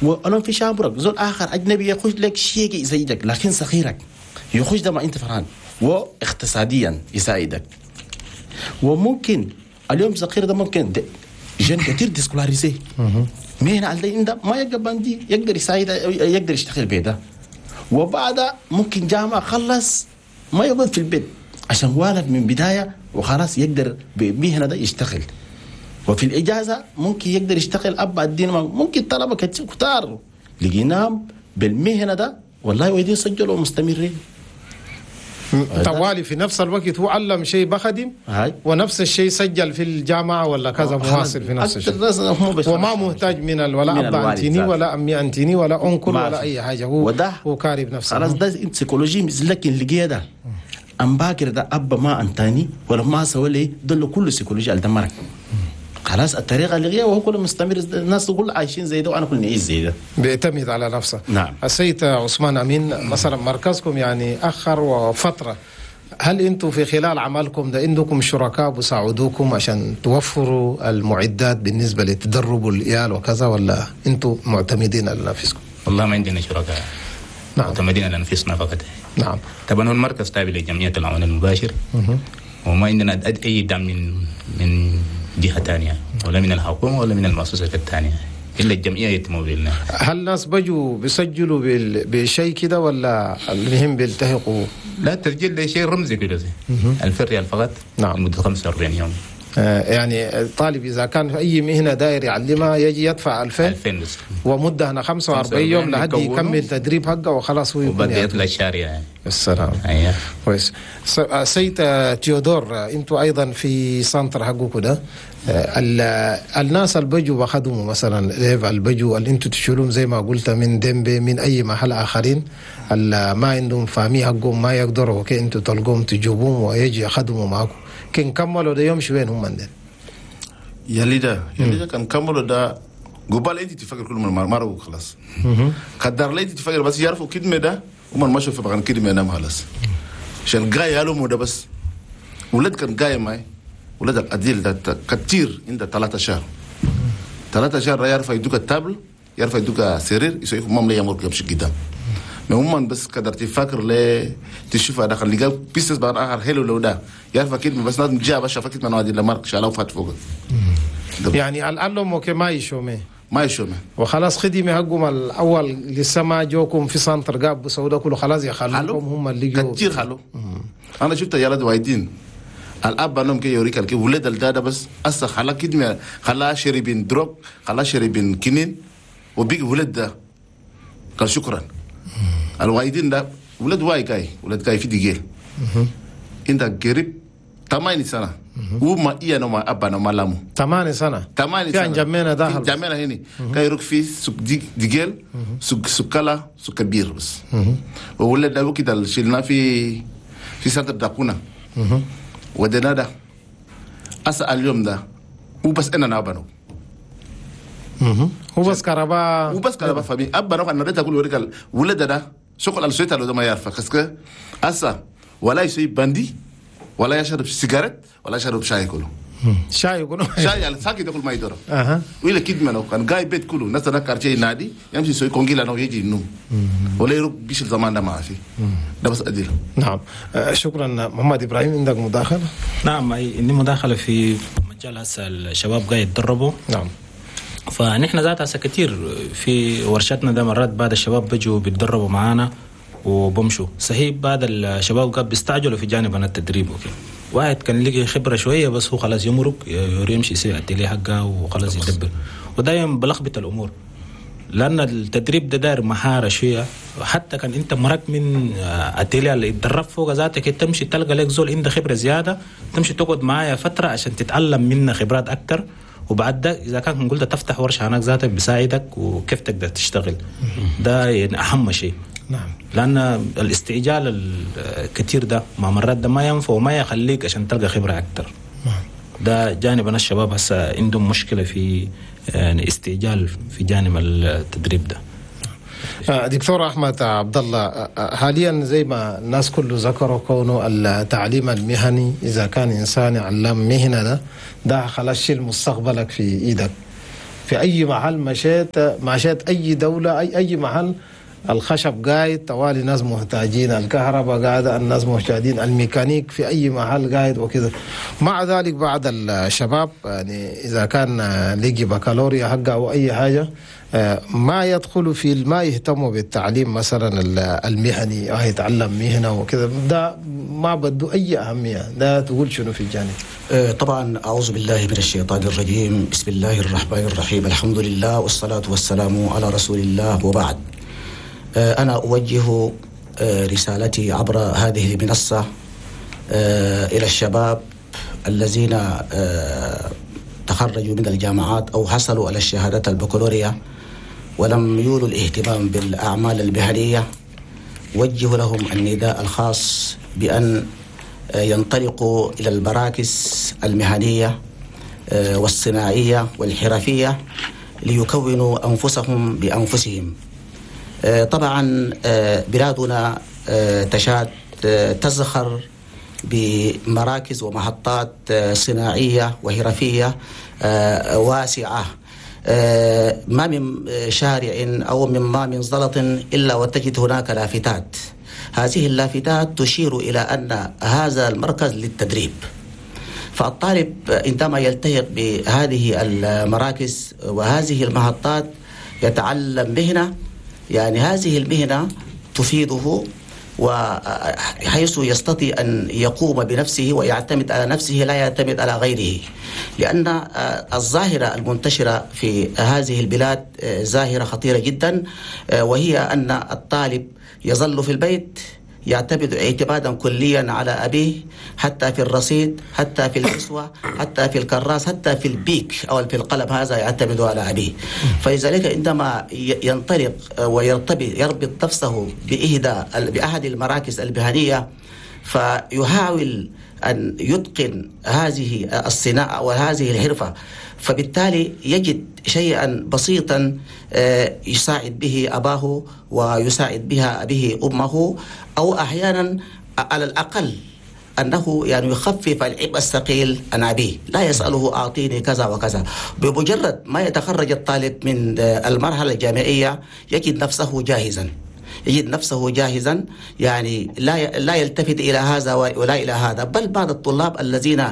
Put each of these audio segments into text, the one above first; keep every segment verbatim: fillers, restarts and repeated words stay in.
ولو في شامبرك زول اخر اجنبي يخش لك شيء يزيدك، لكن صغيرك يخش ده ما انت فرحان، واقتصاديا يساعدك. وممكن اليوم صغير ده ممكن jeunes كثير déscolarisés مهنة على عنده ما يلقى bandit يقدر يساعد، يقدر يشتغل بيه. وبعدها ممكن جامعة خلص ما يقعد في البيت عشان والد من بداية وخلاص يقدر بمهنة ده يشتغل. وفي الإجازة ممكن يقدر يشتغل أب الدين، ممكن طلبة كتار لقيناهم بالمهنة ده والله ويدين سجلوا مستمرين. طوالي في نفس الوقت هو علم شيء بخدم هاي. ونفس الشيء سجل في الجامعة ولا كذا مواصل في نفس الشيء، وما محتاج من ولا أب أنتيني ولا أمي أنتيني ولا uncle ولا أي حاجة، هو وده هو كارب نفسه خلاص. ده psychologie لكن لقيه ده أم باكر ده أب ما أنتاني ولا ما سوى لي دول كله psychologie اللي دمرك خلاص. الطريقة اللي غير وهو كله مستمر، الناس كل عايشين زي ده وانا كل نعيش زي ده، بيعتمد على نفسه. نعم. السيد عثمان امين، مثلا مركزكم يعني اخر وفترة، هل انتم في خلال عملكم ده عندكم شركاء بيساعدوكم عشان توفروا المعدات بالنسبة لتدربوا العيال وكذا، ولا انتم معتمدين على نفسكم؟ والله ما عندنا شركاء. نعم. معتمدين على انفسنا فقط. نعم. طبعا هو المركز تابع لجمعية العون المباشر، وما عندنا اي دعم من من جهة ثانية، ولا من الحكومة ولا من المؤسسات الثانية، إلا الجمعية يتمولنا. هل ناس بجوا بيسجلوا بشيء كده ولا المهم بيلتحقوا؟ لا، التسجيل ده شيء رمزي كده، ألفين ريال فقط. نعم. لمدة خمسة وأربعين يوم. آه يعني الطالب إذا كان في أي مهنة داير يعلمها يجي يدفع ألفين ألفين بس، ومدة هنا خمسة وأربعين يوم لحد يكمل تدريب حقه وخلاص هو يكون وبعد يطلع الشارع يعني. السلام. أيوه كويس. سيد تيودور، انتوا ايضا في centre حقكم ده، الناس اللي بيجوا بخدموا مثلا اللي بيجوا اللي انتوا تشيلوهم زي ما قلت من ديمبي من اي محل اخرين اللي ما عندهم famille حقهم ما يقدروا، okay انتوا تلقوهم تجيبوهم ويجي يخدموا معاكم، كن كملوا ده يمشوا وين هم عندنا؟ يا ده يا ده كان كملوا ده قبال انت تفكر كل من مرة خلاص. قدر لي تفكر بس يعرفوا كدمه ده ومن ما شوف بغن كدمه نام خلاص. عشان جاي قالوا مو ده بس ولد كان جاي معي ولد الأديل ده كتير عند ثلاثة شهر ثلاثة شهر يعرف يدوك ال table يعرف يدوك سرير يسوي مام لي يمر يمشي قدام. ما بس قدر تفكر لي تشوف هذا خلي جاب business بعد آخر حلو لو ده يعرف أكيد بس لازم جاب بس شاف أكيد من وادي لمارك شالوا فات فوق. يعني الألم okay ما يشومه ما يشومه وخلاص خدمة حقهم الأول لسه ما جوكم في centre قاب بسودا كله خلاص يخلوكم هم اللي جو كتير خلو. أنا شفت يا ولد وايدين الأب أنهم كي يوريك الكي ولد الدادا بس أصلا خلا كدمة خلا شربين drogue خلا شربين كنين وبيج ولد ده قال شكرا. الوايدين ده ولد واي كاي ولد كاي في ديجيل انت قريب ثمانية سنة وما إيا نما أبا نما لامو ثمانية سنة ثمانية سنة في جمعنا ده جمعنا هني كاي يروك في سوق ديجيل سوق سكالا سوق كبير بس وولد ده وكده شلنا في في centre داكونا ودنا ده أسأل اليوم ده وبس أنا نابنو هو بس كهرباء هو بس كهرباء famille أبا نو أنا ريت أقول وريك ولد ده شغل السويت لو ده ما يعرف خسك أسا ولا يسوي bandit ولا يشرب سيجارة ولا يشرب شاي كله شاي كله شاي على ساكي تاكل ما يدور اها ولا كيد منو كان جاي بيت كله ناس انا quartier نادي يمشي يسوي كونجيلا نو يجي النوم ولا يروح بيش الزمان ده ما في ده بس أديله. نعم شكرا محمد ابراهيم، عندك مداخله؟ نعم عندي مداخله في مجال هسه الشباب قاعد يتدربوا. نعم. فنحن ذات هسه كثير في ورشتنا ده مرات بعد الشباب بيجوا بيتدربوا معانا وبمشوا صحيح بعد الشباب قاعد بيستعجلوا في جانب التدريب وكده، واحد كان لقي خبره شوية بس هو خلاص يمرق يمشي يسوي التلي حقه وخلاص يدبر، ودايما بلخبط الامور لان التدريب ده داير مهارة شوية. حتى كان انت مرق من اتيليا اللي اتدرب فوق ذاتك تمشي تلقى لك زول عنده خبره زيادة تمشي تقعد معايا فترة عشان تتعلم منه خبرات اكثر، وبعد ده اذا كان قلت تفتح ورشه هناك ذاتك بيساعدك وكيف تقدر تشتغل. ده يعني اهم شيء. نعم. لان الاستعجال الكثير ده مع مرات ده ما ينفع وما يخليك عشان تلقى خبره اكثر. نعم. ده جانب انا الشباب هسه عندهم مشكلة في يعني استعجال في جانب التدريب ده. دكتور احمد عبد الله، حاليا زي ما الناس كله ذكروا كونه التعليم المهني اذا كان انسان يعلم مهنة ده ده خلاص شيل مستقبلك في ايدك. في اي محل مشيت مشيت اي دولة اي اي محل الخشب قاعد طوالي ناس محتاجين، الكهرباء قاعدة الناس محتاجين، الميكانيك في اي محل قاعد وكذا. مع ذلك بعض الشباب يعني اذا كان لقي بكالوريا حقه او اي حاجة ما يدخلوا في ما يهتموا بالتعليم مثلا المهني او يتعلم مهنة وكذا، ده ما بده اي اهمية. ده تقول شنو في الجانب؟ طبعا اعوذ بالله من الشيطان الرجيم، بسم الله الرحمن الرحيم، الحمد لله والصلاة والسلام على رسول الله، وبعد. أنا أوجه رسالتي عبر هذه المنصة إلى الشباب الذين تخرجوا من الجامعات أو حصلوا على الشهادات البكالوريا ولم يولوا الاهتمام بالأعمال المهنية. وجه لهم النداء الخاص بأن ينطلقوا إلى المراكز المهنية والصناعية والحرفية ليكونوا أنفسهم بأنفسهم. طبعا بلادنا تشاد تزخر بمراكز ومحطات صناعية وحرفية واسعة، ما من شارع أو من ما من زلط إلا وتجد هناك لافتات. هذه اللافتات تشير إلى أن هذا المركز للتدريب، فالطالب عندما يلتحق بهذه المراكز وهذه المحطات يتعلم مهنة، يعني هذه المهنة تفيده وحيث يستطيع أن يقوم بنفسه ويعتمد على نفسه لا يعتمد على غيره، لأن الظاهرة المنتشرة في هذه البلاد ظاهرة خطيرة جدا، وهي أن الطالب يظل في البيت يعتمد اعتمادا كليا على أبيه، حتى في الرصيد، حتى في الكسوة، حتى في الكراس، حتى في البيك أو في القلم، هذا يعتمد على أبيه. فلذلك عندما ينطلق ويرتبط يربط نفسه بإحدى بأحد المراكز المهنية فيحاول أن يتقن هذه الصناعة وهذه الحرفة، فبالتالي يجد شيئا بسيطا يساعد به أباه ويساعد بها به أمه، أو أحيانا على الأقل أنه يعني يخفف العبء الثقيل عن أبيه، لا يسأله أعطيني كذا وكذا. بمجرد ما يتخرج الطالب من المرحلة الجامعية يجد نفسه جاهزا، يجد نفسه جاهزا، يعني لا لا يلتفت إلى هذا ولا إلى هذا. بل بعض الطلاب الذين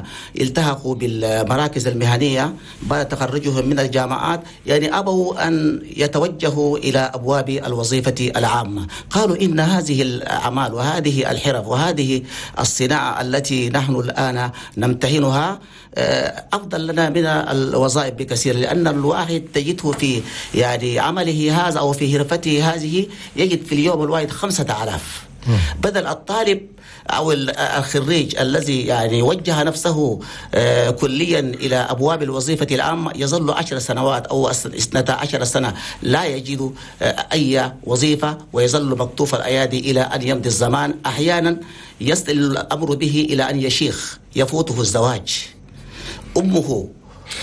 التحقوا بالمراكز المهنية بعد تخرجهم من الجامعات يعني أبوا أن يتوجهوا إلى أبواب الوظيفة العامة، قالوا إن هذه الأعمال وهذه الحرف وهذه الصناعة التي نحن الآن نمتهنها أفضل لنا من الوظائف بكثير، لأن الواحد تجده في يعني عمله هذا أو في حرفته هذه يجد في اليوم الواحد خمسة آلاف، بدل الطالب أو الخريج الذي يعني وجه نفسه كليا إلى أبواب الوظيفة العامة يظل عشر سنوات أو اثنتا عشر سنة لا يجد أي وظيفة، ويظل مكتوف الأيادي إلى أن يمضي الزمان. أحيانا يصل الأمر به إلى أن يشيخ، يفوته الزواج، أمه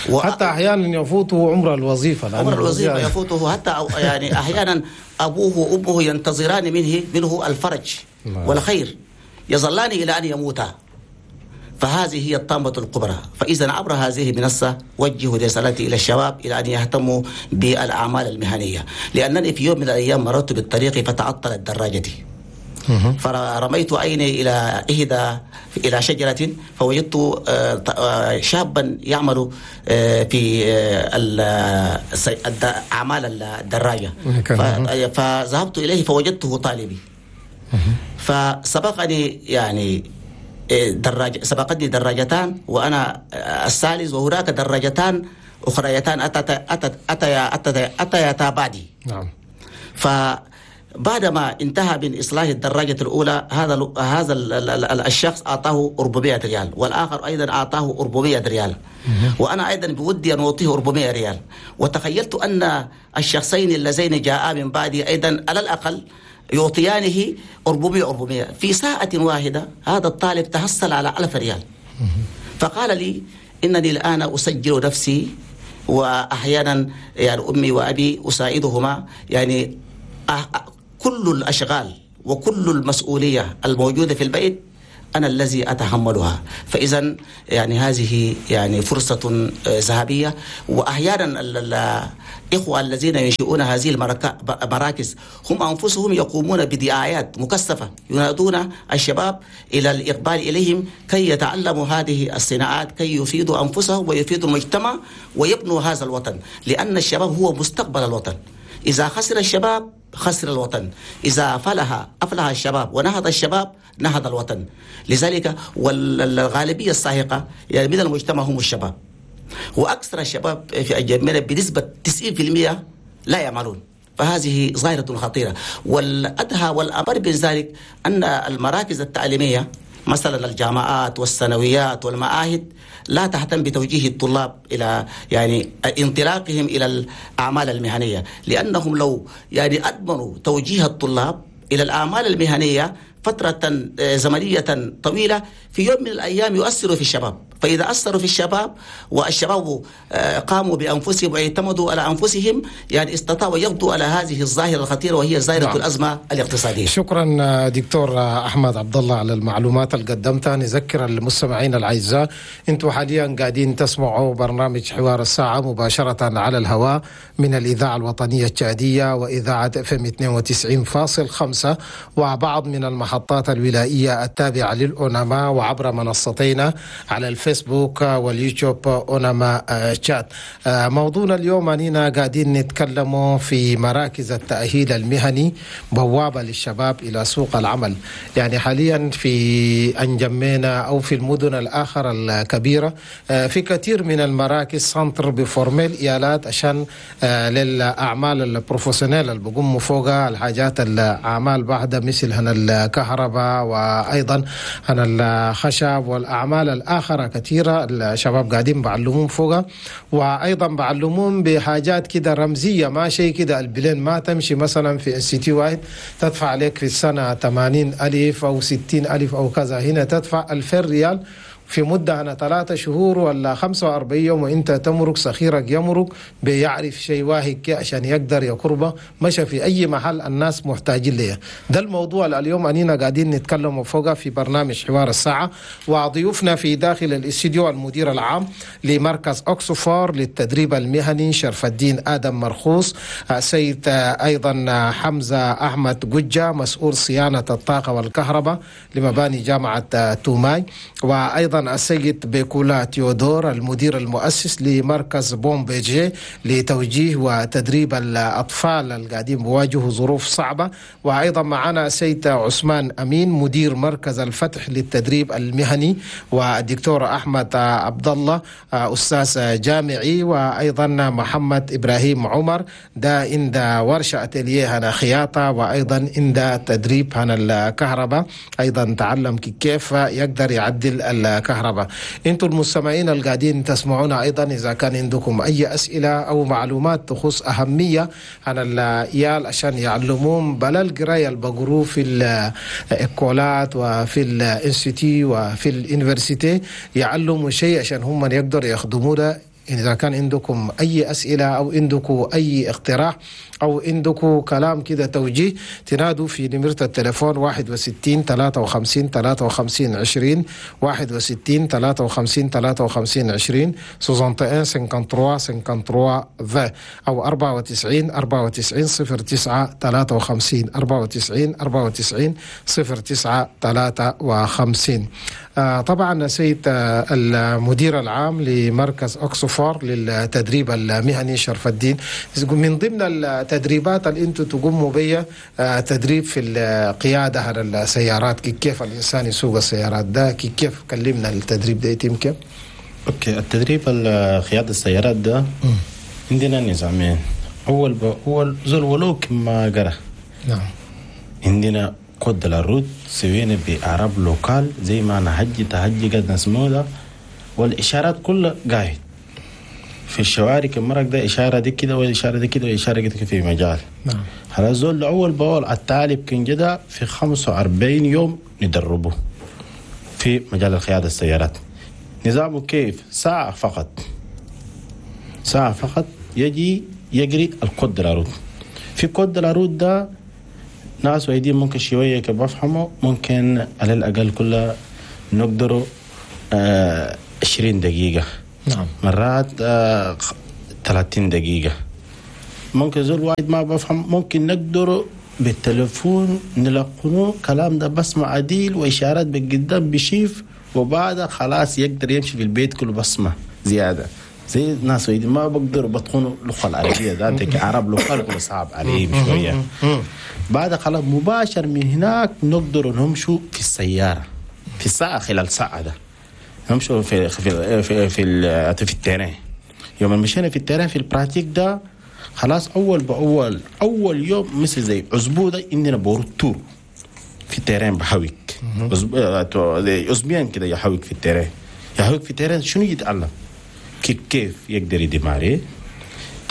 و... حتى أحيانا يفوته عمر الوظيفة، عمر الوظيفة يفوته حتى يعني أحيانا أبوه وأمه ينتظران منه منه الفرج والخير، يظلان إلى أن يموتا. فهذه هي الطامة الكبرى. فإذا عبر هذه المنصة وجه رسالتي إلى الشباب إلى أن يهتموا بالأعمال المهنية، لأنني في يوم من الأيام مررت بالطريق فتعطلت دراجتي، فرميت عيني إلى إحدى إلى شجرة فوجدت شابا يعمل في أعمال الدراجة، فذهبت إليه فوجدته طالبي، فسبقني يعني دراج سبقتني دراجتان وأنا الثالث، وهناك دراجتان أخريتان أتتا أتتا أتتا أتيتا بعدي. نعم. ف بعدما انتهى من إصلاح الدراجة الأولى هذا هذا الشخص أعطاه أربعمائة ريال، والآخر أيضا أعطاه أربعمائة ريال، وأنا أيضا بودي أن أعطيه أربعمائة ريال. وتخيلت أن الشخصين اللذين جاءا من بعدي أيضا على الأقل يعطيانه أربعمائة أربعمائة. في ساعة واحدة هذا الطالب تحصل على ألف ريال. فقال لي إنني الآن أسجل نفسي، وأحيانا يعني أمي وأبي أساعدهما، يعني كل الأشغال وكل المسؤولية الموجودة في البيت أنا الذي أتحملها. فإذا يعني هذه يعني فرصة ذهبية. وأحيانا الإخوة الذين ينشئون هذه المراكز هم أنفسهم يقومون بدعايات مكثفة، ينادون الشباب إلى الإقبال إليهم كي يتعلموا هذه الصناعات، كي يفيدوا أنفسهم ويفيدوا المجتمع ويبنوا هذا الوطن، لأن الشباب هو مستقبل الوطن. إذا خسر الشباب خسر الوطن، إذا فلح أفلح الشباب ونهض الشباب نهض الوطن. لذلك والغالبية الساحقة يعني من المجتمع هم الشباب، وأكثر الشباب في أجمعنا بنسبة تسعين بالمئة لا يعملون، فهذه ظاهرة خطيرة. والأدهى والأمر من ذلك أن المراكز التعليمية مثلا الجامعات والثانويات والمعاهد لا تهتم بتوجيه الطلاب إلى يعني انطلاقهم إلى الأعمال المهنية، لأنهم لو يعني أدمنوا توجيه الطلاب إلى الأعمال المهنية فترة زمنية طويلة في يوم من الأيام يؤثروا في الشباب. فإذا أثروا في الشباب والشباب قاموا بأنفسهم واعتمدوا على أنفسهم يعني استطاعوا يقضوا على هذه الظاهرة الخطيرة وهي ظاهرة نعم. الأزمة الاقتصادية. شكرا دكتور أحمد عبد الله على المعلومات اللي قدمتها. نذكر المستمعين الأعزاء أنتم حاليا قاعدين تسمعوا برنامج حوار الساعة مباشرة على الهواء من الإذاعة الوطنية التشادية وإذاعة اف ام اثنين وتسعين فاصل خمسة وبعض من المحطات الولائية التابعة للأوناما وعبر منصتينا على الفيسبوك واليوتيوب أوناما تشاد. موضوعنا اليوم أننا قاعدين نتكلم في مراكز التأهيل المهني، بوابة للشباب إلى سوق العمل. يعني حاليا في أنجمينا أو في المدن الآخر الكبيرة في كثير من المراكز centres ب former الإيالات عشان للأعمال ال professionnelles اللي بقوموا فوقها الحاجات الأعمال بعد مثل هنا الكهرباء وأيضا هنا الخشب والأعمال الآخرة كثيرة الشباب قاعدين بعلمون فوقها، وأيضا بعلمون بحاجات كده رمزية، ما شيء كده البلين ما تمشي. مثلا في institut واحد تدفع عليك في السنة ثمانين ألف أو ستين ألف أو كذا، هنا تدفع ألفين ريال في مدة أنا ثلاثة شهور ولا خمسة وأربعين يوم، وإنت تمرق صخيرك يمرق بيعرف شيء واحد عشان يقدر يقربه مشى في أي محل الناس محتاجين ليه. ده الموضوع اليوم أننا قاعدين نتكلم فوقه في برنامج حوار الساعة، وضيوفنا في داخل الاستديو المدير العام لمركز أكسفور للتدريب المهني شرف الدين آدم مرخوص، السيد أيضا حمزة أحمد قجة مسؤول صيانة الطاقة والكهرباء لمباني جامعة توماي، وأيضا السيد بيكولا تيودور المدير المؤسس لمركز بومبيجي لتوجيه وتدريب الأطفال القاعدين بواجهوا ظروف صعبة، وأيضا معنا السيد عثمان أمين مدير مركز الفتح للتدريب المهني، والدكتور أحمد عبد الله أستاذ جامعي، وأيضا محمد إبراهيم عمر ده عند ورشة أتيليه هنا خياطة، وأيضا عند تدريب هنا الكهرباء، أيضا تعلم كيف يقدر يعدل الكهرباء. انتم المستمعين القاعدين تسمعونا ايضا اذا كان عندكم اي اسئله او معلومات تخص اهميه عن العيال عشان يعلمون بلا القرايه اللي بقروا في الكولات وفي ال institut وفي ال université، يعلموا شيء عشان هم يقدروا يخدموا ده. إذا كان عندكم أي أسئلة أو عندكم أي اقتراح أو عندكم كلام كده توجيه تنادوا في نمرة التليفون واحد وستين ثلاثة وخمسين ثلاثة وخمسين عشرين، واحد وستين ثلاثة وخمسين ثلاثة وخمسين عشرين، soixante et un cinquante-trois cinquante-trois vingt، أو أربعة وتسعين أربعة وتسعين صفر تسعة ثلاثة وخمسين، أربعة وتسعين أربعة وتسعين صفر تسعة ثلاثة وخمسين. آه طبعا سيد آه المدير العام لمركز أكسفور للتدريب المهني شرف الدين، من ضمن التدريبات اللي انتم تقوموا بها آه تدريب في القيادة على السيارات، كيف الإنسان يسوق السيارات ده، كيف كلمنا التدريب ده يتم كيف؟ okay، التدريب قيادة السيارات ده عندنا نظامين. أول بأول زول ولوك ما قرأ، نعم، عندنا code la route سوينا بعرب local زي ما نهجي تهجي قد نسموه ده، والإشارات كلها قاعد في الشوارع كمرك ده إشارة دي كده والإشارة دي كده والإشارة دي كده في مجال. نعم. هذا زول أول بأول الطالب كان جدا في خمسة وأربعين يوم ندربه في مجال القيادة السيارات. نظامه كيف؟ ساعة فقط، ساعة فقط يجي يجري ال code de la route. في code de la route ده ناس وايدين ممكن شوية بفهمه، ممكن على الأقل كلها نقدروا آه عشرين دقيقة. نعم. مرات آه ثلاثين دقيقة. ممكن زول واحد ما بفهم ممكن نقدر بالتلفون نلقنه كلام ده بسمع عديل وإشارات بالقدام بشيف، وبعدها خلاص يقدر يمشي في البيت كله بسمع زيادة. زي الناس ما بقدروا بتخونوا اللغة العربية ذاتك عرب لغة كله صعب عليهم شوية. بعد خلاص مباشر من هناك نقدر نمشوا في السيارة في الساعة خلال ساعة ده نمشوا في في في في, في ال terrain. يوم مشينا في ال terrain في ال pratique ده خلاص أول بأول أول يوم مثل زي أسبوع ده إننا بورو tour في ال terrain بحويك أسبوعين كده يحويك في ال terrain يحويك في ال terrain شنو يتعلم كيف كيف يقدر ي démarrer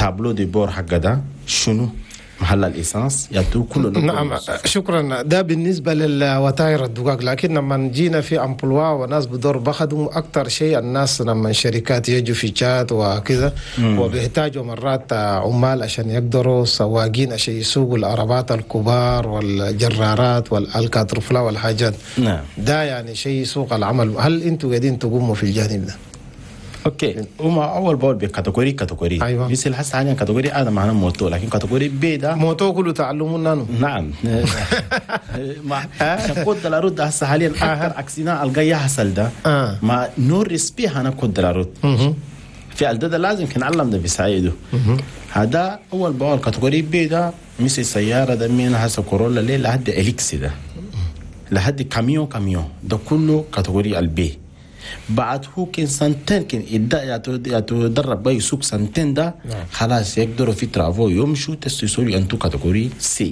tableau de bord حق ده شنو محل ال essence يعطوه كله. نعم شكرا. ده بالنسبة للوتائر الدقاق، لكن لما جينا في emploi وناس بدور بخدموا اكثر شيء الناس لما شركات يجوا في تشاد وكذا وبيحتاجوا مرات عمال عشان يقدروا سواقين عشان يسوقوا العربات الكبار والجرارات والكاترفلا والحاجات. نعم ده يعني شيء سوق العمل. هل انتم قاعدين تقوموا في الجانب ده؟ okay هما اول باول ب catégorie catégorie. ايوه مثل هسه حاليا catégorie A معنا moto، لكن catégorie B ده moto كله تعلمون. نعم مع code de la route هسه حاليا اكثر accident القى يحصل ده مع non respect هنا code de la route في الدد لازم كنعلم ده بيساعده. هذا اول باول catégorie B ده مثل سيارة ده من هسه كورولا ليه لحد اليكس ده لحد camion camion ده كله catégorie ال B. بعد هو كان سنتين كان يتدرب بقى يسوق سنتين ده خلاص يقدروا في travaux يمشوا تستيسولي انتو catégorie C.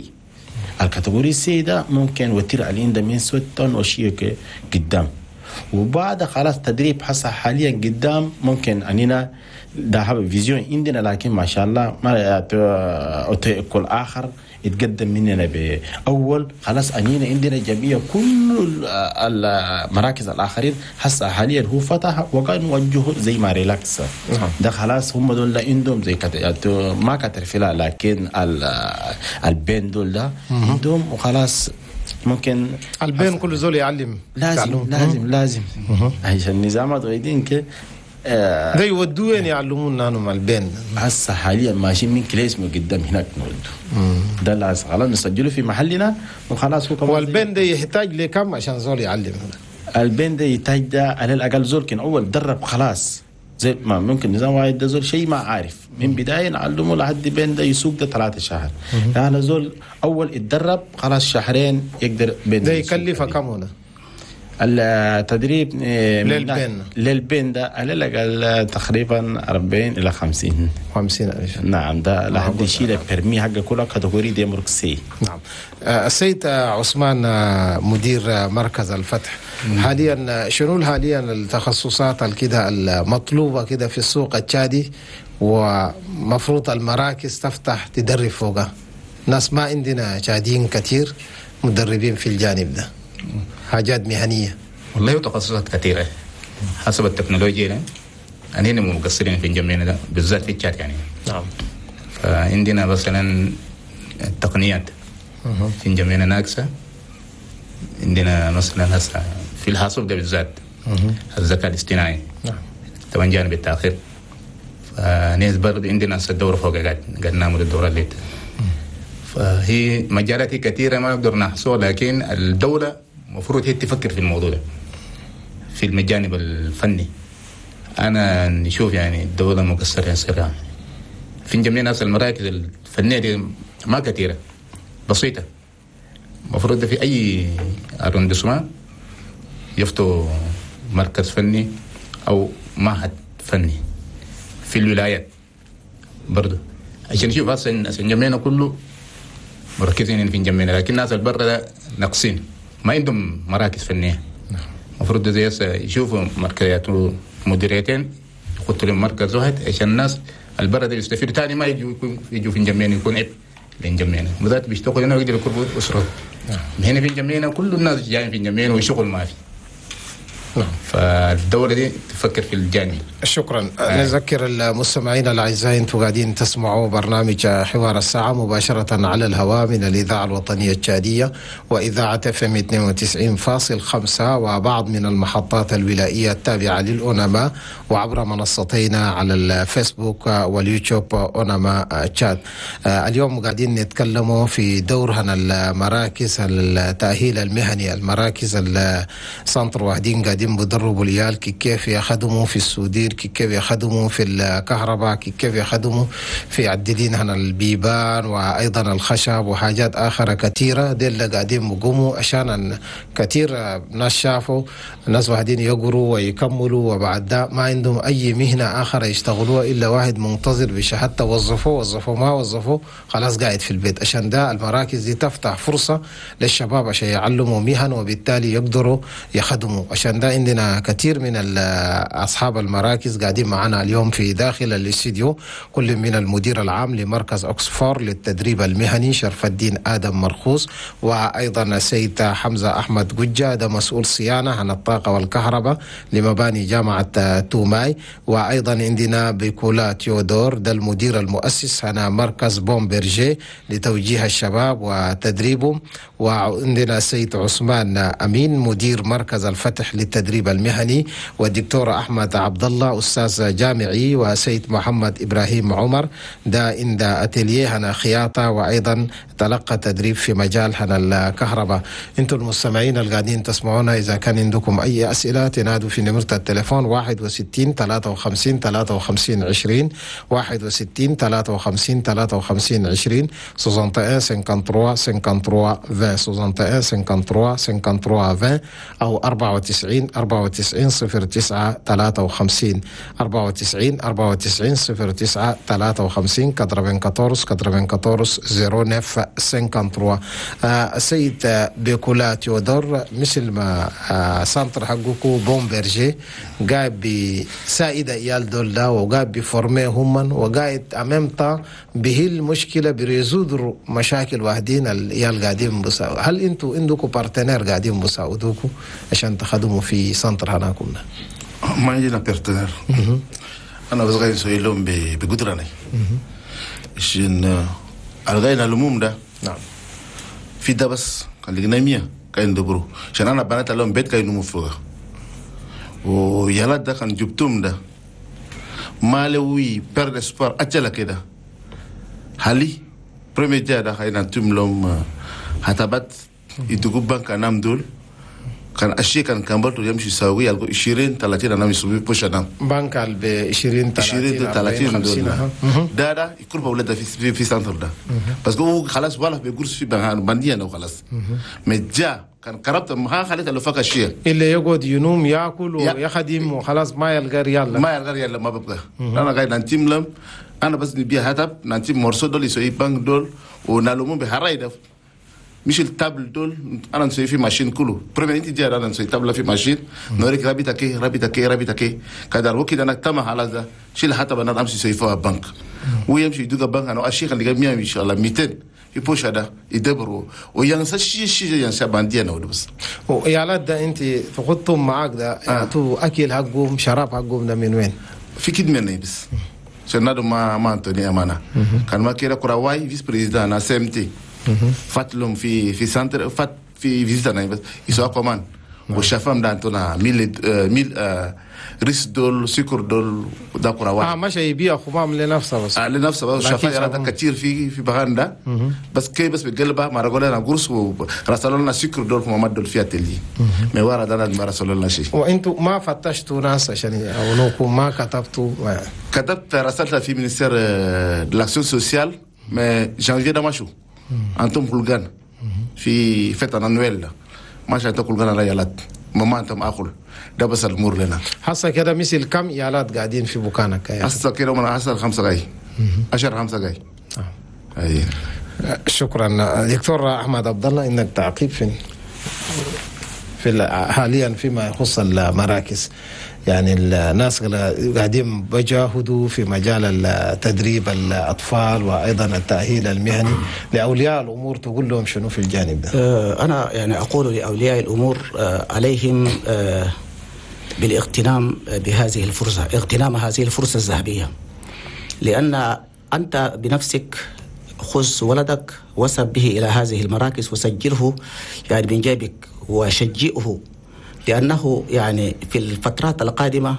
ال catégorie C ده ممكن وتير علين ده من ست طن وشيء قدام، وبعد خلاص تدريب حصل حاليا قدام ممكن اننا ده هذا vision عندنا، لكن ما شاء الله ما كل اخر يتقدم مننا بأول خلاص أنينا عندنا جميع كل المراكز الآخرين هسه حاليا هو فتح وقال نوجهه زي ما ريلاكس ده خلاص هم دول عندهم زي كت... ما كترفلا لكن ال ben دول ده عندهم وخلاص ممكن ال ben كل زول يعلم لازم لازم لازم عشان النظامات غيدين كده ده يودوا وين يعلمونا انهم ال ben هسه حاليا ماشيين من كليس من قدام هناك نودوا ده اللي خلاص نسجله في محلنا وخلاص. هو وال ben ده يحتاج لكم عشان زول يعلم؟ ال ben ده يحتاج ده على الاقل زول كان اول درب خلاص زي ما ممكن نظام واحد ده زول شيء ما عارف من بداية نعلمه لحد ben ده يسوق ده ثلاثة شهر. يعني زول اول اتدرب خلاص شهرين يقدر ben ده يكلفه كم هنا؟ التدريب لل ben لل ben ده على الاقل تقريبا أربعين الى خمسين خمسين ألف. نعم ده لحد يشيل ال permis حقه كله catégorie D مرك C. نعم السيد عثمان مدير مركز الفتح، حاليا شنو حاليا التخصصات الكده المطلوبة كده في السوق التشادي ومفروض المراكز تفتح تدرب فوقها؟ ناس ما عندنا تشاديين كثير مدربين في الجانب ده، حاجات مهنية. والله تخصصات كثيرة حسب التكنولوجيا. أننا مقصرين في جميعنا ده بالذات في الشات يعني. نعم. فعندنا مثلا التقنيات في جميعنا ناقصة. عندنا مثلا هسه في الحاسوب ده بالذات الذكاء الاصطناعي. نعم. طبعا جانب التأخير. فناس برضه عندنا هسه الدورة فوق قاعد قاعد نعمل الدورة اللي فهي مجالات كثيرة ما نقدر نحصوها، لكن الدولة المفروض هي تفكر في الموضوع ده في الجانب الفني. أنا نشوف يعني الدولة مقصرة صراحة في جميع ناس. المراكز الفنية دي ما كثيرة بسيطة، المفروض في أي arrondissement يفتوا مركز فني أو معهد فني في الولايات برضو عشان نشوف أصلا عشان جميعنا كله مركزين في جميعنا، لكن الناس البرة ده ناقصين ما عندهم مراكز فنية. المفروض زي يشوفوا مركزات مديريتين يحطوا لهم مركز واحد عشان الناس البرة دي يستفيدوا، ثاني ما يجوا يجوا في جميعنا يكون عبء لين بالذات بيشتغلوا هنا ويقدروا يكونوا اسرهم. هنا في جميعنا كل الناس جايين في جميعنا وشغل ما في. فالدولة دي تفكر في الجانب. شكرا. نذكر المستمعين الاعزاء انتم قاعدين تسمعوا برنامج حوار الساعة مباشرة على الهواء من الاذاعة الوطنية التشاديه واذاعة اف ام اثنين وتسعين فاصل خمسة وبعض من المحطات الولائيه التابعة للاونما وعبر منصتينا على الفيسبوك واليوتيوب اونما تشاد. اليوم قاعدين نتكلموا في دورهن المراكز التاهيل المهني، المراكز ال centre واحدين قاعدين بدربوا العيال كيف يخدموا في ال soudure، كيف يخدموا في الكهرباء، كيف يخدموا في عددين هنا البيبان وايضا الخشب وحاجات اخرى كثيرة. دي اللي قاعدين بقوموا عشان كثير ناس شافوا ناس واحدين يقروا ويكملوا وبعد ده ما عندهم اي مهنة اخرى يشتغلوها الا واحد منتظر بشهادته، وظفوه وظفوه ما وظفوه خلاص قاعد في البيت. عشان ده المراكز دي تفتح فرصة للشباب عشان يعلموا مهن وبالتالي يقدروا يخدموا. عشان ده عندنا كثير من اصحاب المراكز قاعدين معنا اليوم في داخل الاستديو، كل من المدير العام لمركز أكسفور للتدريب المهني شرف الدين آدم مرخوص، وأيضا السيد حمزة أحمد قجة ده مسؤول صيانة عن الطاقة والكهرباء لمباني جامعة توماي، وأيضا عندنا بيكولا تيودور ده المدير المؤسس هنا مركز بومبرجي لتوجيه الشباب وتدريبهم، وعندنا السيد عثمان أمين مدير مركز الفتح للتدريب المهني، والدكتور أحمد عبد الله أستاذ جامعي، وسيد محمد إبراهيم عمر ده عند أتيليه هنا خياطة وأيضا تلقى تدريب في مجال هنا الكهرباء. انتم المستمعين القاعدين تسمعونا إذا كان عندكم أي أسئلة تنادوا في نمرة التليفون واحد وستين ثلاثة وخمسين ثلاثة وخمسين عشرين، واحد وستين ثلاثة وخمسين ثلاثة وخمسين عشرين، soixante et un cinquante-trois cinquante-trois vingt، soixante et un cinquante-trois cinquante-trois vingt، أو أربعة وتسعين أربعة وتسعين صفر تسعة ثلاثة وخمسين، أربعة وتسعين أربعة وتسعين صفر تسعة ثلاثة وخمسين، quatre-vingt-quatorze quatre-vingt-quatorze zéro neuf cinquante-trois. السيد بيكولا تيودور، مثل ما آه centre حقكو بومبرجي قاعد بسائدة إيال دول وقاعد ب former هم وقاعد أمامتا به المشكلة ب résoudre مشاكل واحدين الإيال قاعدين بساو. هل انتو عندكم partenaire قاعدين بساعدوكم عشان تخدموا في centre هناكم؟ ما عندنا partenaire. انا بس غاية نسوي لهم بقدرنا عشان الغاية العموم ده. نعم في ده بس كان لقينا مية كاين دبرو عشان انا بنات لهم بيت كاين نمو فوق ويلا ده كان جبتهم ده ما لوي بير اسبار اجل كده حالي premier جا ده خاينا نتم لهم حتبات يدقوا بنك انام دول كان أشي كان كمبرتو يمشي يساوي يلقوا عشرين ثلاثين أنا يسوي بوش أنا بنك ب عشرين ثلاثين خمسين ده ده يكون بولد في في في centre ده بس هو خلاص ولا بيقرص في بنان بندي أنا وخلاص مجا كان قربت ما خليت له فك شيء اللي يقعد ينوم ياكل ويخدم وخلاص ما يلقى ريال ما يلقى ريال ما ببقى أنا قاعد نتيم لهم أنا بس نبيع هتب نتيم مرسول دول يسوي بنك دول ونالومون بهراي مش ال table دول انا نسوي في machine كله premier انت جاي انا نسوي table في machine نوريك رابطه كي رابطه كي رابطه كي كدار وكده انا تم على ذا شيل حتى بنا امشي سوي فيها بنك ويمشي يدوق بنك انا اشيخ اللي مية ان شاء الله مئتين في بوش هذا يدبروا وينسى شيء شيء ينسى باندي انا بس ويا ده انت تخطهم معاك ده تو اكل حقهم شراب حقهم ده من وين؟ في كد مني بس عشان ما ما انتوني امانه كان ما كده كراواي vice président انا CMT فات لهم في في centre فات في visite انا بس يسوا كمان وشافهم ده انتونا mille mille riz دول سكر دول ده كراواي اه ماشي يبيع خمام لنفسه بس آه لنفسه بس شافها يرى كثير في في بغندا بس كي بس بقلبها ما رجل انا قرص ورسلوا لنا سكر دول في محمد دول في atelier ما ورا ده ما رسلوا لنا شيء. وانتم ما فتشتوا ناس عشان يعاونوكم؟ ما كتبتوا؟ كتبت رسلت في ministère de l'action sociale mais janvier ده ماشو انتم كلغان في fête annuelle ماشي انتم كلغان على يالات ماما انتم اكل ده بس المور لنا حصل كده مثل كم يالات قاعدين في بكانك؟ حصل كده من حصل خمسة جاي عشر خمسة جاي. اي شكرا دكتور احمد عبد الله انك تعقيب في في حاليا فيما يخص المراكز، يعني الناس قاعدين بجاهدوا في مجال التدريب الأطفال وأيضا التأهيل المهني لأولياء الأمور، تقول لهم شنو في الجانب ده؟ أنا يعني أقول لأولياء الأمور عليهم بالاغتنام بهذه الفرصة، اغتنام هذه الفرصة الذهبية، لأن أنت بنفسك خذ ولدك وسب به إلى هذه المراكز وسجله يعني من جيبك وشجئه، لأنه يعني في الفترات القادمة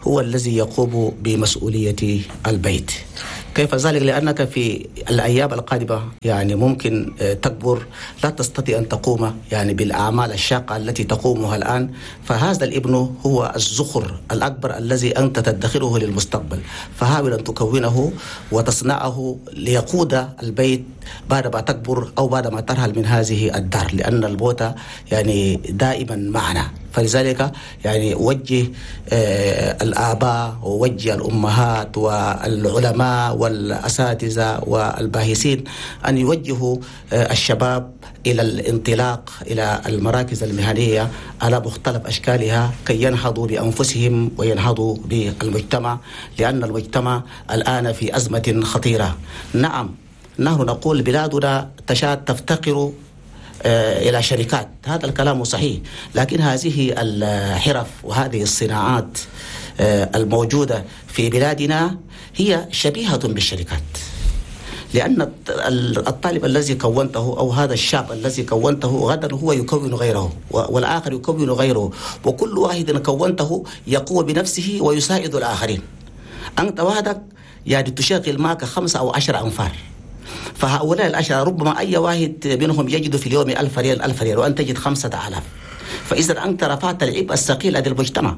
هو الذي يقوم بمسؤولية البيت. كيف ذلك؟ لأنك في الأيام القادمة يعني ممكن تكبر، لا تستطيع أن تقوم يعني بالأعمال الشاقة التي تقومها الآن، فهذا الابن هو الزخر الأكبر الذي أنت تدخره للمستقبل، فحاول أن تكونه وتصنعه ليقود البيت بعد ما تكبر أو بعد ما ترحل من هذه الدار، لأن البوت يعني دائما معنا. فلذلك يعني وجه الآباء ووجه الأمهات والعلماء والأساتذة والباحثين أن يوجهوا الشباب إلى الانطلاق إلى المراكز المهنية على مختلف أشكالها كي ينهضوا بأنفسهم وينهضوا بالمجتمع، لأن المجتمع الآن في أزمة خطيرة. نعم، نحن نقول بلادنا تشاد تفتقر إلى شركات، هذا الكلام صحيح، لكن هذه الحرف وهذه الصناعات الموجودة في بلادنا هي شبيهة بالشركات، لأن الطالب الذي كونته أو هذا الشاب الذي كونته غدا هو يكون غيره والآخر يكون غيره، وكل واحد كونته يقوم بنفسه ويساعد الآخرين. أنت وحدك يعني تشغل معك خمسة أو عشر أنفار، فهؤلاء العشرة ربما أي واحد منهم يجد في اليوم ألف ريال ألف ريال وأنت تجد خمسة آلاف، فإذا أنت رفعت العبء الثقيل للمجتمع.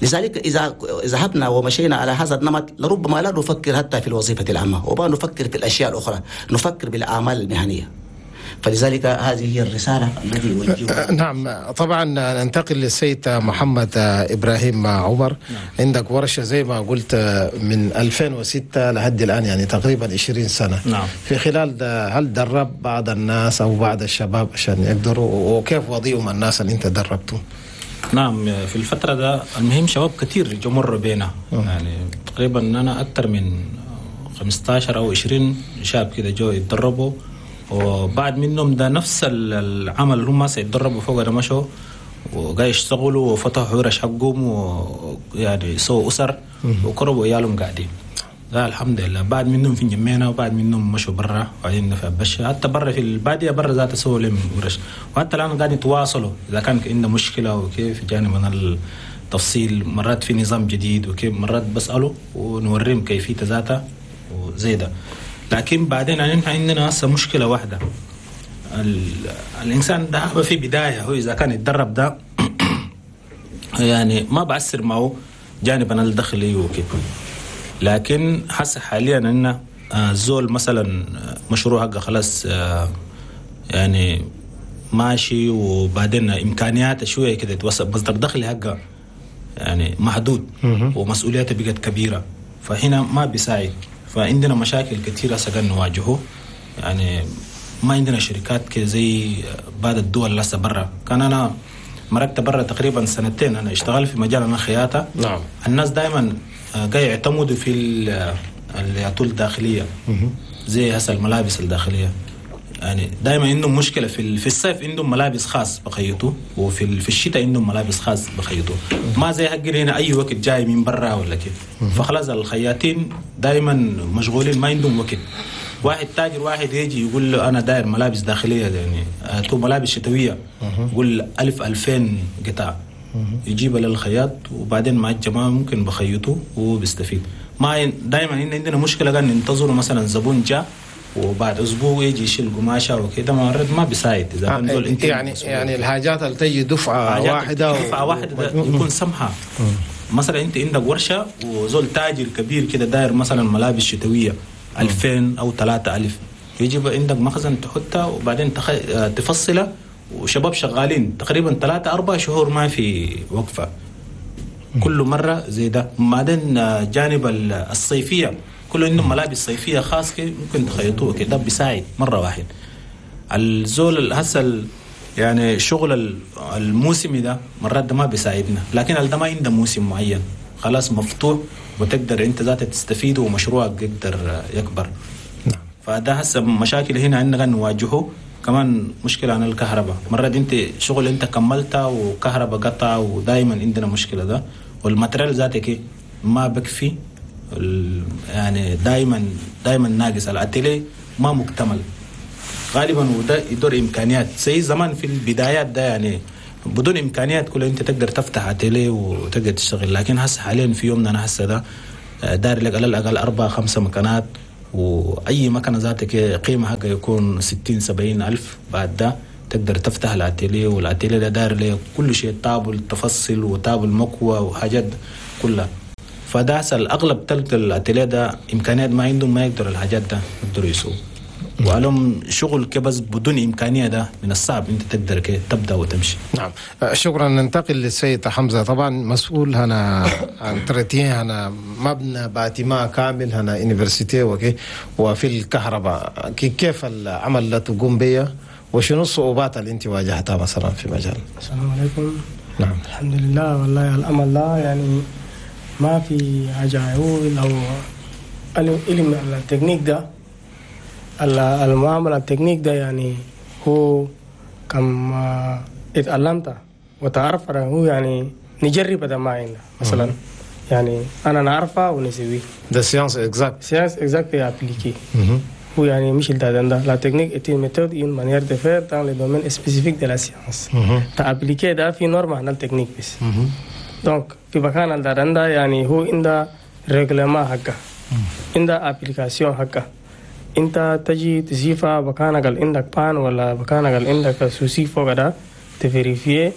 لذلك إذا ذهبنا ومشينا على هذا النمط لربما لا نفكر حتى في الوظيفة العامة، وما نفكر في الأشياء الأخرى، نفكر بالأعمال المهنية. فلذلك هذه هي الرسالة التي أوجهها. نعم، طبعا ننتقل للسيد محمد إبراهيم عمر. نعم. عندك ورشة زي ما قلت من ألفين وستة لحد الآن، يعني تقريبا عشرين سنة. نعم. في خلال هل درب بعض الناس أو بعض الشباب عشان يقدروا، وكيف وضيهم الناس اللي أنت دربتهم؟ نعم، في الفترة ده المهم شباب كثير جمر بينا، يعني تقريبا أنا أكثر من خمسة عشر أو عشرين شاب كده جو يتدربوا، وبعد منهم ده نفس العمل اللي هم سيتدربوا فوق ده مشوا وقاعد يشتغلوا وفتحوا ورش حقهم، ويعني سووا أسر وقربوا عيالهم قاعدين. لا الحمد لله، بعد منهم في جمينا، وبعد منهم مشوا برا وبعدين في بشة، حتى برا في البادية برا ذات سووا لهم ورش، وحتى الآن قاعدين يتواصلوا إذا كان عنده مشكلة وكيف جانب من التفصيل، مرات في نظام جديد وكيف، مرات بسأله ونوريهم كيفية ذاتها وزي ده. لكن بعدين يعني نحن عندنا هسه مشكلة واحدة، الإنسان ده في بداية هو إذا كان يتدرب ده يعني ما بعسر معه جانبا الدخلي وكيف، لكن حس حاليا ان الزول مثلا مشروع حقه خلاص يعني ماشي، وبعدين امكانياته شوية كده توسع، مصدر دخل حقه يعني محدود ومسؤولياته بقت كبيرة، فهنا ما بيساعد. فعندنا مشاكل كثيرة سكن نواجهه، يعني ما عندنا شركات كده زي بعض الدول لسه برا. كان انا مرقت برا تقريبا سنتين، انا اشتغل في مجال انا خياطة. نعم. الناس دائما قاعد يعتمدوا في الياتول الداخلية زي هسه الملابس الداخلية، يعني دائما عندهم مشكلة في في الصيف عندهم ملابس خاص بخيطوا، وفي في الشتاء عندهم ملابس خاص بخيطوا، ما زي حق هنا اي وقت جاي من برا ولا كيف. فخلاص الخياطين دائما مشغولين ما عندهم وقت. واحد تاجر واحد يجي يقول له انا داير ملابس داخلية، يعني تو ملابس شتوية، يقول ألف ألفين قطعه، يجيبها للخياط، وبعدين مع الجماعة ممكن بخيطه وبيستفيد. ما دائما عندنا مشكلة قاعد ننتظروا مثلا زبون جاء وبعد اسبوع يجي يشيل قماشة وكده، مرات ما بيساعد اذا كان دول انت يعني يعني الحاجات اللي تجي دفعه واحدة دفعه واحدة يكون سمحه. مثلا انت عندك ورشه وزول تاجر كبير كده داير مثلا ملابس شتوية ألفين او ثلاثة ألف، يجيب عندك مخزن تحطها وبعدين تخ... تفصلها، وشباب شغالين تقريبا ثلاثة أربع شهور ما في وقفة، كل مرة زي ده. بعدين جانب الصيفية كله عندهم ملابس صيفية خاص كده ممكن تخيطوه كده بيساعد مرة واحد. الزول هسه يعني الشغل الموسمي ده مرات ده ما بيساعدنا، لكن ده ما عنده موسم معين، خلاص مفتوح وتقدر انت ذاتك تستفيد ومشروعك يقدر يكبر. فده هسه مشاكل هنا عندنا نواجهه، كمان مشكلة عن الكهرباء، مرات انت شغل انت كملتها وكهرباء قطع، ودائما عندنا مشكلة ده. وال matériel ذاتك ما بكفي، يعني دائما دائما ناقص، الاتيليه ما مكتمل غالبا، وده يدور امكانيات زي زمان في البدايات ده، يعني بدون امكانيات كلها انت تقدر تفتح اتيليه وتقدر تشتغل. لكن هسه حاليا في يومنا انا هسه ده داير لك على الاقل اربع خمسة مكانات، واي مكنه ذاتك قيمة حقها يكون ستين سبعين الف. بعد ده تقدر تفتح ال atelier، وال atelier ده داير له كل شيء، table تفصل و table مكوى وحاجات كلها. فده هسه الاغلب تلقى الاتيليه ده امكانيات ما عندهم، ما يقدروا الحاجات ده يقدروا يسووا. وعلم شغل كبس بدون إمكانية ده من الصعب أنت تقدر كي تبدأ وتمشي. نعم شكرا. ننتقل للسيد حمزة، طبعا مسؤول هنا entretien هنا مبنى bâtiment كامل هنا université وكي وفي الكهرباء، كيف العمل اللي تقوم به وشنو الصعوبات اللي انت واجهتها مثلا في مجال؟ السلام عليكم. نعم الحمد لله. والله الأمل لا يعني ما في حاجة أقول أو علم التكنيك ده، المعاملة التكنيك ده يعني هو كم اتعلمت وتعرف هو يعني نجرب ده ما عندنا مثلا، يعني أنا نعرفه ونسويه. ده science exacte. science exacte appliquée. هو يعني مش ده ده la technique est une méthode une manière de faire dans le domaine spécifique de la science. تا appliquer ده في norme عن التكنيك بس. donc في مكان ده ده يعني هو عنده règlement حقه، عنده application حقه. انت تجي تزيفها بكانك اللي عندك panne ولا بكانك اللي عندك souci فوق ده ت vérifier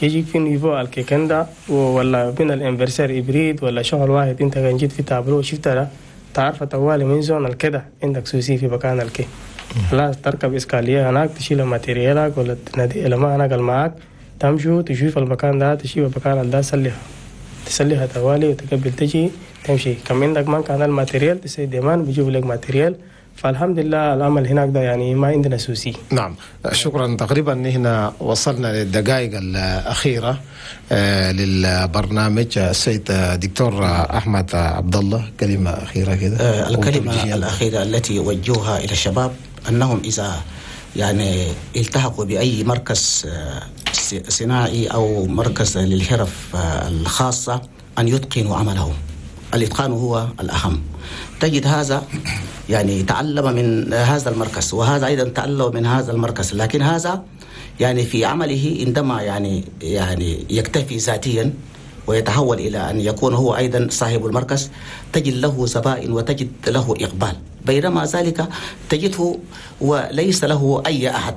يجيك في niveau الكيكندا ولا بين ال inverseur hybride ولا شغل واحد. انت كان جيت في تابلو شفت ده تعرف طوالي من zone الكده عندك souci في مكان الكي، خلاص تركب escalier هناك تشيل matériel ك ولا تنادي ما هناك معاك، تمشوا تشوف المكان ده تشيل المكان ده تسليها تسليها طوالي وتقبل تجي تمشي. كم عندك ما كان ال matériel تسي demande بيجيب لك matériel. فالحمد لله العمل هناك ده يعني ما عندنا souci. نعم شكرا. تقريبا هنا وصلنا للدقائق الأخيرة للبرنامج. السيد دكتور أحمد عبد الله كلمة أخيرة كده. الكلمة الأخيرة التي أوجهها إلى الشباب أنهم إذا يعني التحقوا بأي مركز صناعي أو مركز للحرف الخاصة أن يتقنوا عملهم. الإتقان هو الأهم. تجد هذا يعني تعلم من هذا المركز وهذا أيضا تعلم من هذا المركز، لكن هذا يعني في عمله عندما يعني يعني يكتفي ذاتيا ويتحول إلى أن يكون هو أيضا صاحب المركز تجد له زبائن وتجد له إقبال، بينما ذلك تجده وليس له أي أحد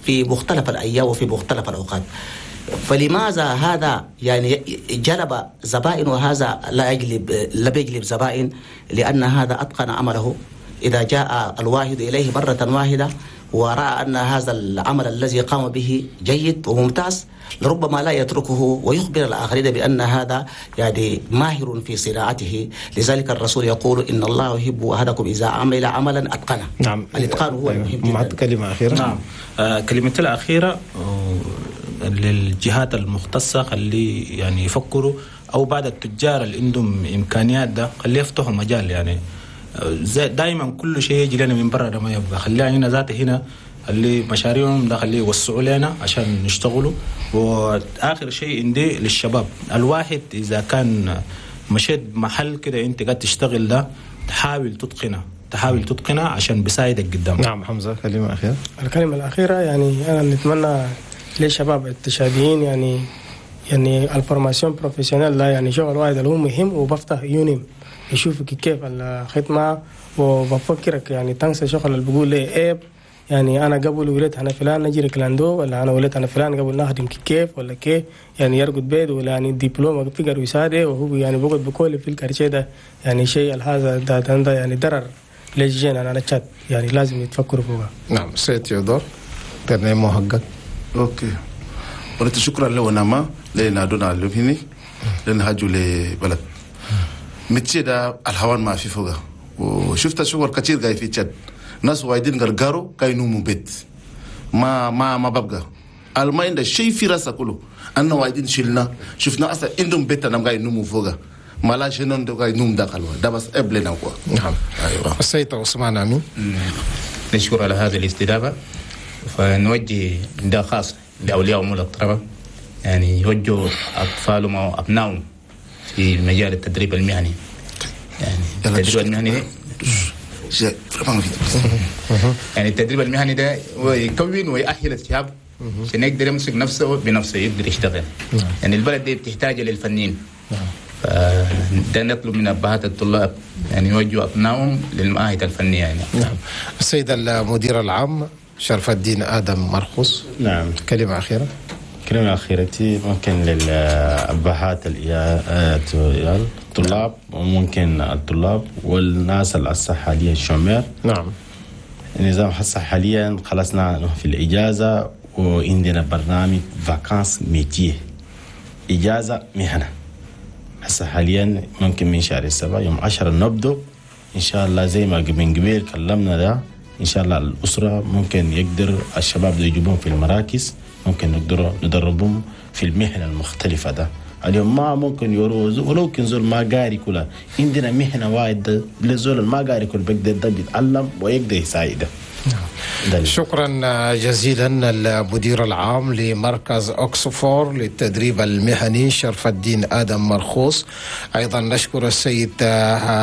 في مختلف الأيام وفي مختلف الأوقات. فلماذا هذا يعني جلب زبائن وهذا لا يجلب لا يجلب زبائن؟ لأن هذا أتقن عمله. إذا جاء الواحد إليه مرة واحدة ورأى أن هذا العمل الذي قام به جيد وممتاز لربما لا يتركه ويخبر الآخرين بأن هذا يعني ماهر في صناعته. لذلك الرسول يقول إن الله يحب أحدكم إذا عمل عملا أتقنه. نعم الإتقان هو المهم جدا. كلمة أخيرة. نعم آه كلمتي الأخيرة للجهات المختصة، خلي يعني يفكروا أو بعد التجار اللي عندهم إمكانيات ده خليه يفتحوا مجال. يعني دائما كل شيء يجي لنا من برا ده ما يبقى، خليها هنا ذاته هنا اللي مشاريعهم ده خليه يوسعوا لنا عشان نشتغلوا. وآخر شيء عندي للشباب، الواحد إذا كان مشيت محل كده أنت قاعد تشتغل ده تحاول تتقنه، تحاول تتقنه عشان بيساعدك قدام. نعم حمزة كلمة أخيرة. الكلمة الأخيرة يعني أنا نتمنى للشباب التشاديين يعني يعني ال formation professionnelle لا يعني شغل واحد اللي هو مهم وبفتح يونيم يشوفك كيف الخدمة وبفكرك يعني تنسى شغل اللي بيقول لي عيب. يعني أنا قبل ولدت أنا فلان نجري clando ولا أنا ولدت أنا فلان قبل نخدم كيف ولا كيف يعني يرقد بيت ولا يعني دبلومة فكر وسادة وهو يعني بقعد بكل في ال quartier ده يعني شيء هذا ده, ده, ده يعني ضرر للجين أنا تشاد يعني لازم يتفكروا فوقها. نعم سيد تيودور ترنيمو حقك. OK ولت شكرا له نما لنادونا لهني لنهاجوا لبلد métier ده الهوان ما في فوقه. وشفت شغل كثير جاي في تشاد ناس وايدين غرغارو كاينو بيت ما ما ما ببقى الماين ده شيء في راسه كله أنا وايدين شلنا شفنا أصلا عندهم بيت أنا جاي نومو فوقه ما لا شنو ده جاي نوم دخلوا ده بس قبلنا كوا. نعم أيوة. السيد عثمان أمين نشكر على هذه الاستضافة. فنوجه نداء خاص لأولياء أمور الطلبة يعني يوجهوا أطفالهم أو أبنائهم في مجال التدريب المهني. يعني التدريب المهني يعني التدريب المهني ده هو يكون ويأهل الشاب عشان يقدر يمسك نفسه بنفسه، يقدر يشتغل. يعني البلد دي بتحتاج للفنيين. فده نطلب من أبهات الطلاب يعني يوجهوا أبنائهم للمعاهد الفنية يعني. نعم. السيد المدير العام شرف الدين آدم مرخوص. نعم. كلمة أخيرة. كلمة أخيرتي ممكن للأبهات الطلاب وممكن الطلاب والناس اللي هسه حاليا الشمال. نعم. النظام هسه حاليا خلصنا في الإجازة وعندنا برنامج vacances métier، إجازة مهنة. هسه حاليا ممكن من شهر السبعة يوم عشرة نبدأ إن شاء الله، زي ما من قبل كلمنا ده إن شاء الله الأسرة ممكن يقدر الشباب ده يجيبهم في المراكز، ممكن نقدر ندربهم في المهنة المختلفة ده. اليوم ما ممكن يروز ولو كان زول ما قاري كلها، عندنا مهنة وايد لزول ما قاري كل بيقدر ده بيتعلم ويقدر يساعده. شكرا جزيلا المدير العام لمركز أكسفور للتدريب المهني شرف الدين آدم مرخوص. أيضا نشكر السيد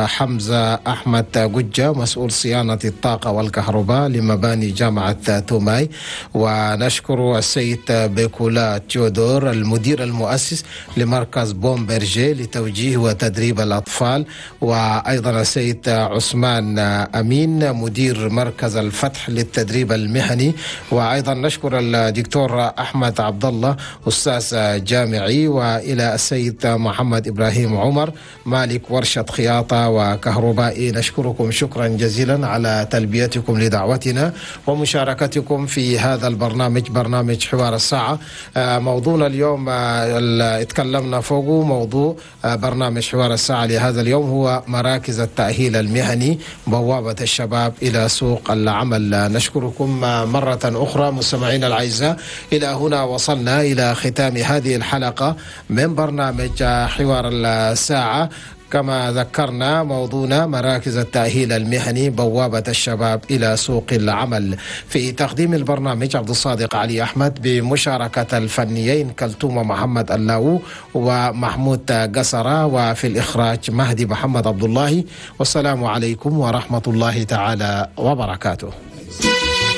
حمزة أحمد قجة مسؤول صيانة الطاقة والكهرباء لمباني جامعة توماي، ونشكر السيد بيكولا تيودور المدير المؤسس لمركز بومبرجي لتوجيه وتدريب الأطفال، وأيضا السيد عثمان أمين مدير مركز الفتح للتدريب المهني، وأيضا نشكر الدكتور أحمد عبد الله أستاذ جامعي، وإلى السيد محمد إبراهيم عمر مالك ورشة خياطة وكهربائي. نشكركم شكرا جزيلا على تلبيتكم لدعوتنا ومشاركتكم في هذا البرنامج، برنامج حوار الساعة. موضوعنا اليوم اللي اتكلمنا فوقه، موضوع برنامج حوار الساعة لهذا اليوم هو مراكز التأهيل المهني، بوابة الشباب إلى سوق العمل. نشكركم مرة أخرى مستمعينا الأعزاء. إلى هنا وصلنا إلى ختام هذه الحلقة من برنامج حوار الساعة. كما ذكرنا موضوعنا مراكز التأهيل المهني، بوابة الشباب إلى سوق العمل. في تقديم البرنامج عبد الصادق علي أحمد بمشاركة الفنيين كلثوم محمد اللاو ومحمود قصرة، وفي الإخراج مهدي محمد عبد الله. والسلام عليكم ورحمة الله تعالى وبركاته.